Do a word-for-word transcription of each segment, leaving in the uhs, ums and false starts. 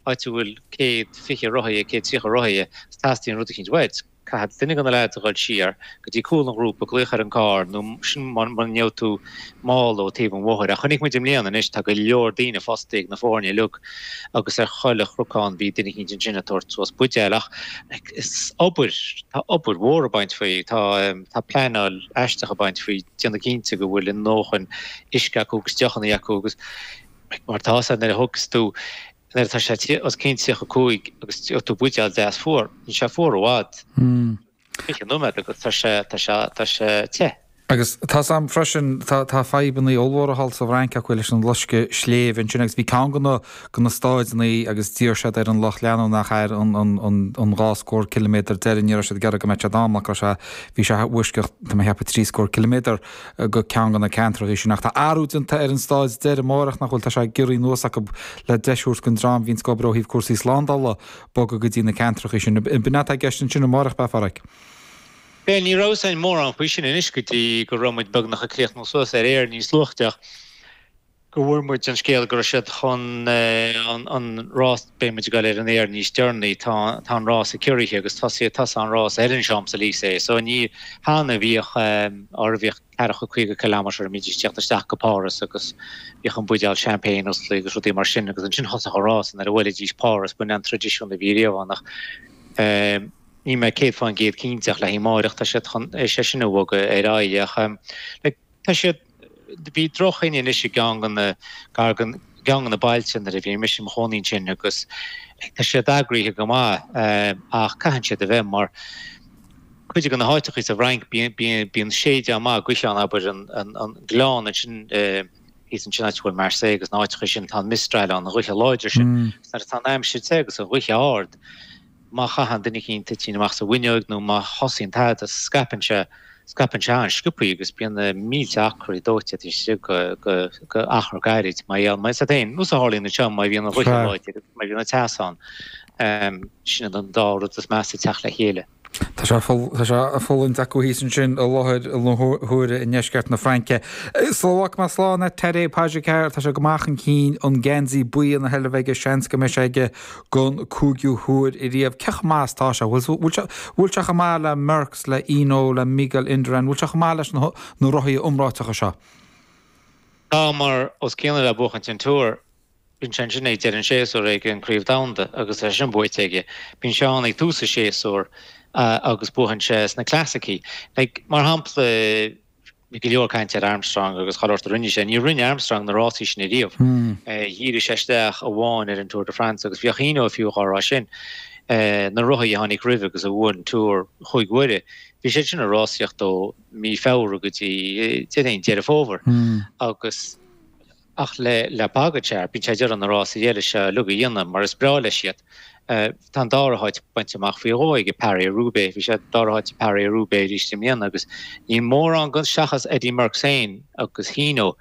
áit a bhfuil céad fiche rothaithe, céad tríocha rothaithe, is teastaíonn rud eicínt uait. Caithfidh duine de na leaids a dhul siar go dtí cúl an ghrúpa, glaoch ar an gcarr nó sin muna ngeobhaidh tú mála ó taobh an bhóthair. Ach chonaic muid i mbliana anois, tá go leor daoine fostaithe ag na foirne uilig agus ar chuile chnocán bhí duine eicínt ansin ag tabhairt suas buidéal. Ach is obair, tá obair mhór ag baint faoi, tá tá pleanáil aisteach ag baint faoi, déanamh cinnte go bhfuil a ndóthain uisce acu agus deochanna acu agus mar atá sé nuair a thugas tú Nuair atá sé os cionn tríocha cúig agus gheobhaidh tú buidéal deas fuar, níl sé fuar i bhfad, fiche nóiméad agus tá sé, tá sé, tá sé te. Agus tá's a'm freisin, tá, tá fadhbannaí ollmhóra thall sa bhFrainc acu leis an loscadh sléibhe ansin agus bhí ceann de na, de na stáideannaí agus d'iarr siad ar an lucht leanúnach ar an, an, an, an dhá scór ciliméadar deiridh, ní raibh siad ag iarraidh go mbeadh siad ann mar go raibh sé, bhí sé i bhfoisceacht, tá mé a cheapadh trí scór ciliméadar go ceann de na ceantracha sin. Ach tá athrú déanta ar an stáid deiridh amárach, nach bhfuil? Tá sé giorraithe anuas acu le deis a thabhairt don dream a bhíonns ag obair ó thaobh cúrsaí slándála bogadh go dtí na ceantracha sin. B'in atá i gceist ansin amárach, ab ea, a Pháraic? Bhuel, ní raibh a fhios againn mórán faoi sin anois go dtí go raibh muid beagnach ag críochnú suas ar aer níos luaithe ach go bhfuair muid an scéal go raibh siad chun an rás, beidh muid ag dul ar an aer níos deireanaí, tá tá an rás i gCiarraí agus tosaíodh tosaigh an rás ar an Champs-Élysées so ní cheana bhíodh or bhíodh ceathracha caoga kilometre a mbídís ag teacht isteach go Páras agus bhíodh an buidéal champagne osclaithe agus rudaí mar sin agus ansin thosódh an rás nuair a bhuailfidís Páras, b'in an traidisiún a bhí riamh ann ach níl mé céad fán gcéad cinnte ach le haghaidh amáireach tá siad chun é sin a bhogadh ar aghaidh ach like tá siad Bhí drochthine anois i gceann de na, gar go gceann de na bailte nuair a bhí mise i mo chónaí ansin agus tá siad eagraithe go maith ach caitheann siad a bheith mar cuid de na háiteachaí sa bhFrainc bíonn bíonn séideán maith gaoithe ann abair an an gleann ansin thíos ansin áit a bhfuil Marseille agus na háiteachaí sin tá an Mistral ann an ghaoth láidir sin agus nuair atá an aimsir te agus an ghaoth ard má chaitheann duine eicínt toitín amach sa bhfuinneoig nó má thosaíonn tada scaipeann sé Scaipeann sé an-sciobthaí agus bíonn na mílte acraí dóite taobh istigh de achar gairid. Mar gheall, mar is é nós a tharlaíonn anseo má bhíonn an ghaoth láidir agus má bhíonn an teas ann, sin iad an dá rud is measa ag teacht le chéile. Tá sé tá sé á fulaingt acu thíos ansin i láthair na huaire i ndeisceart na Fraince. Sula bhfágfaidh mé slán leat Tadej Pogačar, tá sé go maith chun cinn, an geansaí buí ina sheilbh aige, seans go mbeidh sé aige don cúigiú huair ariamh. Cé chomh maith is atá sé? Bhfuil sé bhfuil sé chomh maith le Merckx, le Hinault, le Miguel Indurain? Bhfuil sé chomh maith leis na na rothaithe iomráiteacha seo? Tá, mar os cionn le buachaint an Tour, bíonn sé ansin ag deireadh an séasúir ag an Craobh Domhanda agus tá sé sin buaite aige. Bíonn sé ann ag tús an séasúir agus buachann sé sna clasaicí. Like, mar shampla, Bhí go leor cainte ar Armstrong agus chuile shórt a rinne sé. Ní rinne Armstrong na rásaí sin ariamh. Dhírigh sé isteach amháin ar an Tour de France agus bhíodh Hinault fiú dhá rá sin. Na rothaithe a tháinig roimhe agus a bhuaigh an Tour chúig huaire, bhí siad sin ag rásaíocht ó mí Feabhra go dtí déarfainn Deireadh Fómhair agus Ach le le Pogačar, bíonn sé ag iarraidh na rásaí eile seo uilig a dhéanamh mar is breá leis iad. Tá an dara háit bainte amach faoi dhó aige, Paris-Roubaix. Bhí sé dara háit i Paris-Roubaix arís i mbliana agus níl mórán den, seachas Eddy Merckx féin agus Hinault,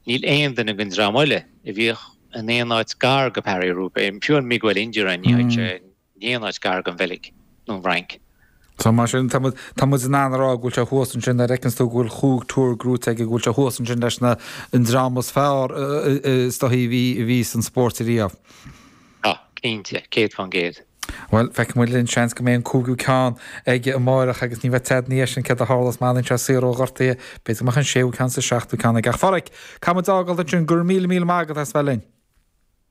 níl aon duine den dream eile a bhíodh in aon áit gar go Paris-Roubaix, fiú an Miguel Indurain, ní théann sé. in aon áit gar don Bheilg nó an Fhrainc. So mar sin, tá muid, tá muid in ann a rá go bhfuil sé thuas ansin, nuair a fheiceanns tú go bhfuil chúig Tour gnóite aige, go bhfuil sé thuas ansin leis na, an dream is fearr is dóichí a bhí, a bhí san spórt ariamh. Tá, cinnte, céad fán gcéad. Bhuel, feicfidh muid linn, seans go mbeidh an cúigiú ceann aige amáireach agus ní bheidh tada ina dhiaidh sin céard a tharlós má fhanann sé saor ó ghortuithe, b'fhéidir go mbeadh an séú ceann is an seachtú ceann aige. Ach a Pháraic, caithfidh muid a fhágáil ansin, go raibh míle míle maith agat as bheith linn.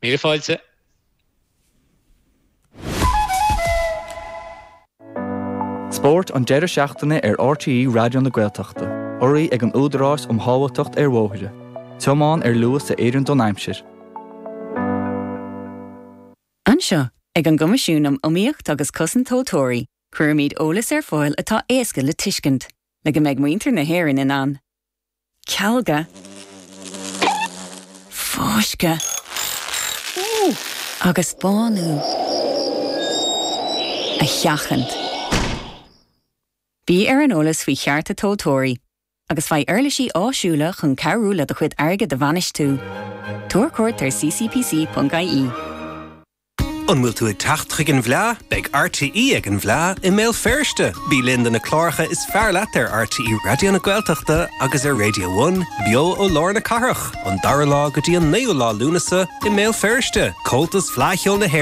Míle fáilte. Spórt an deireadh seachtaine ar RTÉ Raidió na Gaeltachta, urraithe ag an Údarás um Shábháilteacht ar Bhóithre. Tiomáin ar luas a oireann don aimsir. Anseo, ag an gCoimisiún um Iomaíocht agus Cosaint Tomhaltóirí, cuirimid eolas ar fáil atá éasca le tuiscint, le go mbeidh muintir na hÉireann in ann cealga, fáisceadh agus bánú a sheachaint. Bí ar an eolas faoi chearta tomhaltóirí agus faigh uirlisí áisiúla chun cabhrú le do chuid airgid a bhainistiú. Tabhair cuairt ar ccpc.ie. An bhfuil tú ag teacht chuig an bhFleá? Beidh RTÉ ag an bhFleá i mBéal Feirste! Bí linn do na cláracha is fearr leat ar RTÉ Raidió na Gaeltachta agus ar Radio One, beo ó lár na cathrach, ón dara lá go dtí an naoú lá Lúnasa i mBéal Feirste. Comhaltas Fleadh Cheoil na hÉireann.